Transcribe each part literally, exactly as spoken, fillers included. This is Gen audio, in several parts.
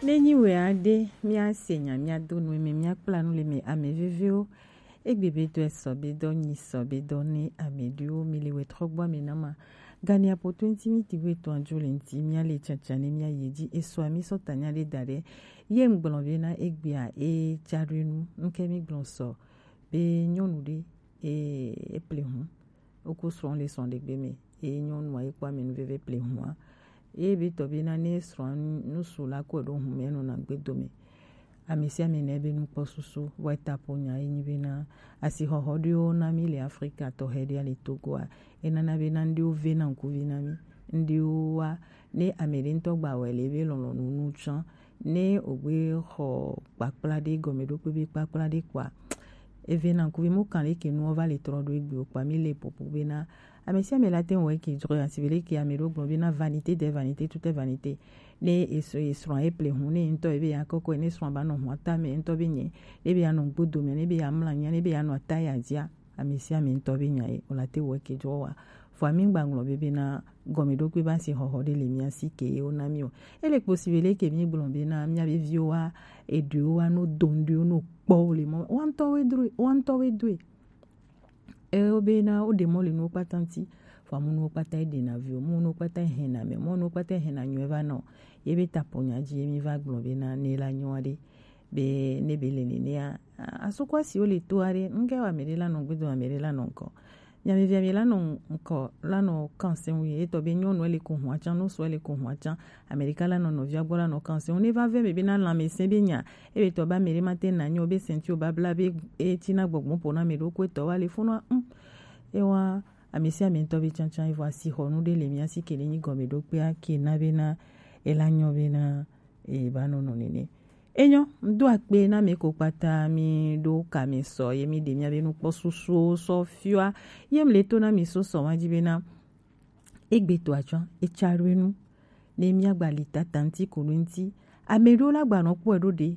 Ne nyi wɛ aɖe, míase nya, míado nu eme, míakpla nu le eme, ame veviwo. Egbe be dɔ esɔ be dɔ nyi sɔ be dɔ ne ame ɖewo mi le wɛ trɔ gbɔ ame na ma. Gani apoto ŋuti mi ti wɛ tɔn adzo le ŋuti, míale tsatsa ne míayi edzi. Esɔ mi sɔ ta nya ɖe da ɖe. Ye ŋgblɔ be na egbea e tsa ɖo enu, ŋke mi gblɔ sɔ be nyɔnu ɖe e, e ple hu. Woko srɔ̃ le srɔ̃ ɖegbe me. Eye nyɔnua ye kpɔ amenuveve ple hua. Eye be tɔ be na ne srɔ̃a nu, nusu la kɔe ɖo hu me nɔna gbe dome. Ame sia ame na ebe nukpɔ susu, vɔ eta ƒo nya ye nyi be na asixɔxɔ ɖewo na mi le Afrika tɔxɛ ɖe le Togoa. Enana be na ŋɖewo ve na ŋkuvi na mi. Ŋɖewoa, ne ame ɖe ŋutɔ gba wɛ le ebe lɔlɔ̃nu nu tsã, ne wògbe xɔ kpakpla ɖe gɔmeɖokpe be kpakpla ɖe kpɔa, eve na ŋkuvi mu kan leke nuwo va le trɔ ɖo egbewo kpa mi le popo be na ame sia ame la te ŋu wɔ eke dzro ya si be leke ame ɖewo gblɔ be na vanité de vanité, tout est vanité. Ne esrɔ̃ esrɔ̃a ye ple hu ne ŋutɔ ebe ya kɔkɔ ne srɔ̃a ba nɔ hu ata me ŋutɔ be nye ne be ya nɔ gbodo me ne be ya mla nya ne be ya nɔ ata ya dzia, ame sia ame ŋutɔ be nya ye o la te wɔ eke dzro wa. Vɔa mi ŋgba ŋlɔ be be na gɔmeɖokpe ba si xɔxɔ ɖe le mía si ke ye wona mi o. Ele kpo si be leke mi gblɔ be na mía be viwo wa eɖewo wa no do ŋɖewo no kpɔ wo le mɔ wa ŋutɔ we dro wa ŋutɔ we doe. Ewo be na wo ɖe mɔ le nuwo kpata ŋuti. Vɔa mu nuwo kpata eɖe na viwo mu nuwo kpata ehe na me mu nuwo kpata ehe na nyuie va nɔ. Ye be ta po nya dzi ye mi va gblɔ be na ne la nyɔ aɖe be ne be le nenea asukɔ asiwo le to aɖe ŋke wa me ɖe la nɔ gbedo ame ɖe la nɔ ŋkɔ. Miamevi ame la nɔ ŋkɔ la nɔ kanse ŋu ye etɔ be nyɔnu ele ko hua tsã no so ele ko hua tsã. Amerika la nɔ nɔvia gbɔ la nɔ kanse ŋu ne va vɛ me be na lãmesẽ be nya ebe tɔ be ame ɖe ma te na nyɔ be senti o babla be eti na gbɔgbɔ ƒo na ame ɖo ko etɔ wa le funu a ŋ ewa ame sia ame ŋutɔ be tsãtsã evɔ asixɔnu ɖe le mía si ke ɖe nyi gɔmeɖokpea ke na be na ela nyɔ be na eba nɔ nɔ nene. Enyo, ŋdo akpe na mi ko kpata mi ɖo kame sɔ ye mi ɖe mia be nukpɔ susuwo sɔ fiɔa ye mi le to na mi so sɔ wa dzi be na egbe to atsɔ etsa ɖo enu ne mia gba li tata ŋuti ko ɖo ŋuti ame ɖewo la gba nɔ kpɔe ɖo ɖe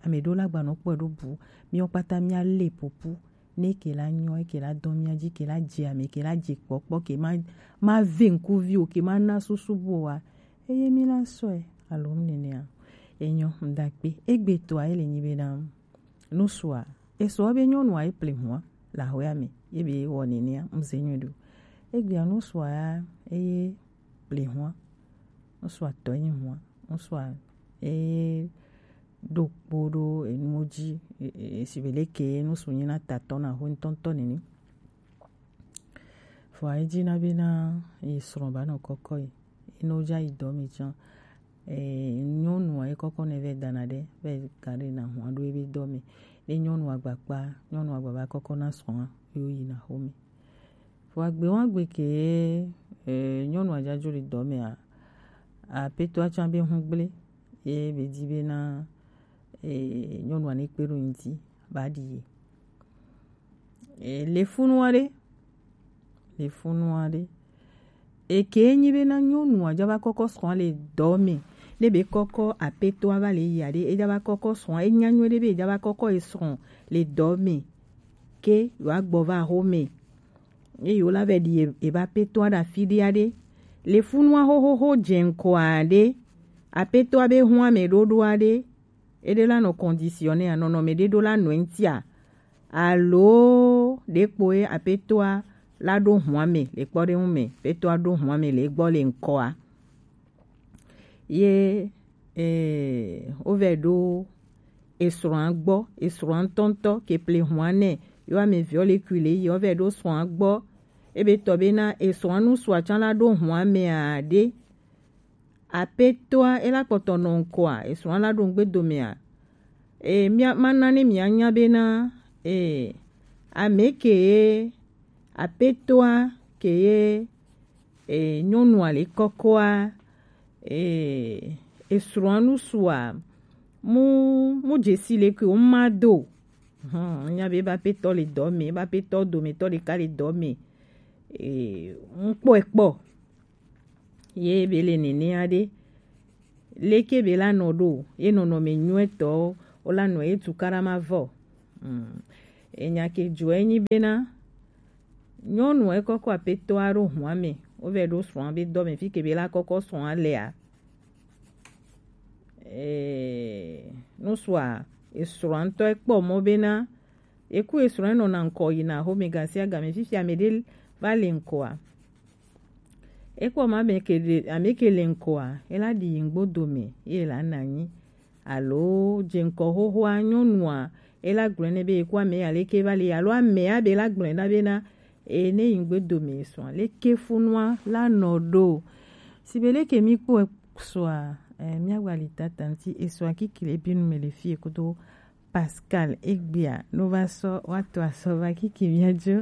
ame ɖewo la gba nɔ kpɔe ɖo bu miɔ kpata mia le popu ne ke la nyɔ ke la dɔ mia dzi ke la dze ame ke la dze kpɔkpɔ ke ma ma ve ŋkuvi o ke ma na susu bu o wa eye mi la sɔe alo nenea enyo ŋdakpe egbe toa ele nyi be na nusua esɔ be nyɔnua ye ple hua le ahɔa me ye be wɔ nenea ŋze nyuie ɖo egbea nusua ya eye ple hua nusua tɔ nyi hua nusua eye ɖo kpo ɖo enuwo dzi e- e- e- si be leke nusu nyi na tatɔ na ho ŋtɔŋtɔ nene. Vɔa edzi na be na yi srɔ̃ ba nɔ kɔkɔ yi yi ne wodza yi dɔ me tsã. Ee, nyɔnua ye kɔkɔ nɛ vɛ dana ɖe vɛ ga ɖe na hua ɖo ebe dɔ me. Ne nyɔnua gbakpa, nyɔnua gbava kɔkɔ na srɔ̃a yo yi na xome. Vɔa gbe wa gbe ke ee, nyɔnua dzadzo le dɔ mea, apetoa tsã be hu gble ye be di be na ee, nyɔnua ne kpe ɖo ŋdi ba ɖi ye. E, le funu aɖe, le funu aɖe. Eke nyi be na nyɔnua dza va kɔkɔ srɔ̃a le dɔ me. Ne be kɔkɔ apetoa va le yi aɖe, e dza va kɔkɔ srɔ̃a, e nya nyuie ɖe be e dza va kɔkɔ e srɔ̃ le dɔ me. Ke yewoa gbɔ va xome. Ye yewo la vɛ ɖi e- ebe apetoa ɖe afi ɖe aɖe. Le funua xoxoxo dze ŋkɔ aɖe. Apetoa be hu ame ɖoɖo aɖe. Eɖe la nɔ conditionné a nɔnɔme ɖe ɖo la nɔ eŋutia alo ɖe kpoe apetoa la ɖo hua me le kpɔɖeŋu me apetoa ɖo hua me le egbɔ le ŋkɔa ye eh, wovɛ ɖo esrɔ̃a gbɔ esrɔ̃a ŋutɔŋutɔ ke ple hua nɛ yo ame viɔ le kui le yi wovɛ ɖo srɔ̃a gbɔ ebe tɔ be na esrɔ̃a nu sua tsã la ɖo hua me aɖe Apetoa ela kpɔtɔ nɔ ŋkɔa esrɔ̃a la ɖo ŋgbe domea e mia mana ne mia nya bena e ame ke ye apetoa ke ye e nyɔnua le kɔkɔa e esrɔ̃a nu sua mu mu dzesi le ke wo ma do hɔn nya be ba petɔ le dɔ me ba petɔ dometɔ ɖeka le dɔ me e ŋkpɔe kpɔ Ye be le nenea ɖe, leke be la nɔ ɖo ye nɔnɔme nyuietɔwo wo la nɔ ye tukaɖa ma vɔ? Mm. Enya ke dzɔe nyi bena nyɔnu ekɔkɔ apetɔa ɖo hua me, wovɛ ɖo srɔ̃a be dɔ me fi ke be la kɔkɔ srɔ̃a lea. eh, nusua esrɔ̃a ŋutɔ ekpɔ mɔ bena eku esrɔ̃a enɔna ŋkɔ yina xɔme gasiagame. Fifia ame ɖe va le ŋkɔa, ekpɔ ma ame ke ɖe, ame ke le ŋkɔa, ela ɖi yi ŋgbo dome ye la na anyi. Alo dze ŋkɔ xoxoa nyɔnua, ela gblɔe nɛ be yeku ame aleke va le, alo amea be la gblɔe na bena e ne yi ŋgbe dome esrɔ̃a leke funua la nɔ ɖo. Si be leke mi kpɔ esrɔ̃a, eh, miagba li tata ŋuti esrɔ̃a kiki le binu me le fie kudo Pascal egbea no va sɔ wa to asɔ va kiki miadzo.